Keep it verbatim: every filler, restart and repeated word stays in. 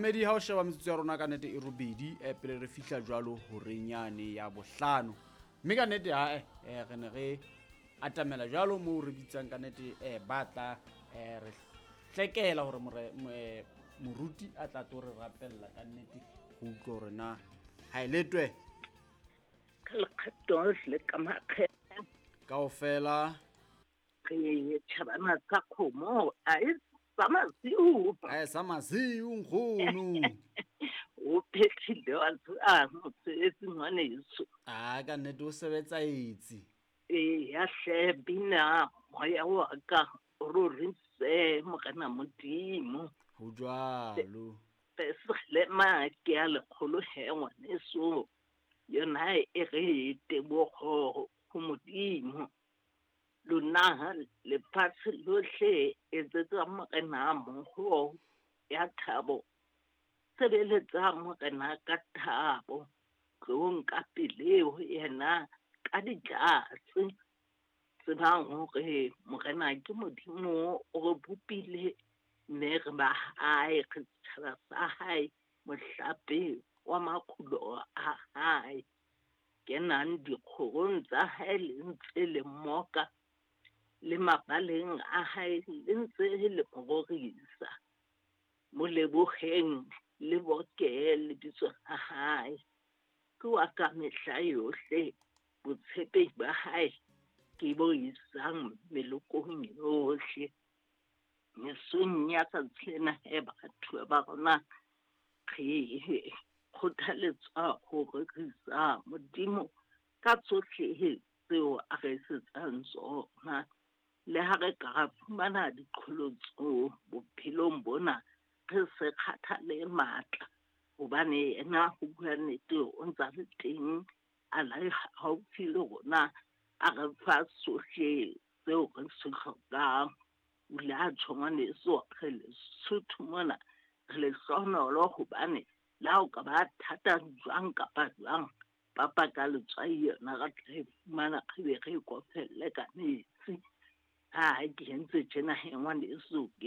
Momamedi, ha o sheba metsotso ya rona ka nnete e robedi eh, pele re fihla jwalo horeng yane ya bohlano, mme ka nnete hae eh, re ne re atamela jwalo moo re bitsang ka nnete eh, ba tla eh, re hlekela hore more- mo- eh, moruti a tla tlo re rapella ka nnete go utlwa hore na ha e letwe. Ka lekgetho le ka makgetha. Kaofela. Re tjhabana tsa kgomo a e sa masiu. A e sa masiu nkgono. O phethile wa tseba mosebetsi ngwaneso. A ka nnete o sebetsa etse. Eya hle, bina moya wa ka o rorise Morena Modimo. Ho jwalo. Pesalema ke ya lekgolo he ngwaneso, yona e re tebogo ho Modimo. Lona lefatshe lohle, etsetsa Morena mohoo ya thabo, sebeletsa Morena ka thabo, tloong ka pele ho yena ka ditlatse. Tsebang hore Morena ke Modimo, o re bopile mme re ba hae, re setjhaba sa hae, mohlape wa makgulo a hae. Kenang dikgorong tsa hae le ntse le mmoka, le mabaleng a hae le ntse le mo rorisa. Mo leboheng le boke lebitso la hae. Ke wa ka mehla yohle, botshepehi ba hae ke bo isang melokong yohle. Mesong ya tsatsi lena he batho ba rona re kgothaletswa ho rorisa Modimo ka tsohle tseo a re etsetsang tsona. Le ha re ka ra fumana diqholotso bophelong bona, re se kgathale matla, hobane yena ho bua nnete o ntsa le teng, a le haufi le rona, a re fa sohle tseo re se hlokang. O ile a tjho ngwaneso, re Lesotho mona re lehlohonolo, hobane le ha o ka ba thata jwang kapa jwang, papa ka letswai yona re tla e fumana, re be re e kofelle ka metsi. Ha ke entse tjena he ngwaneso, ke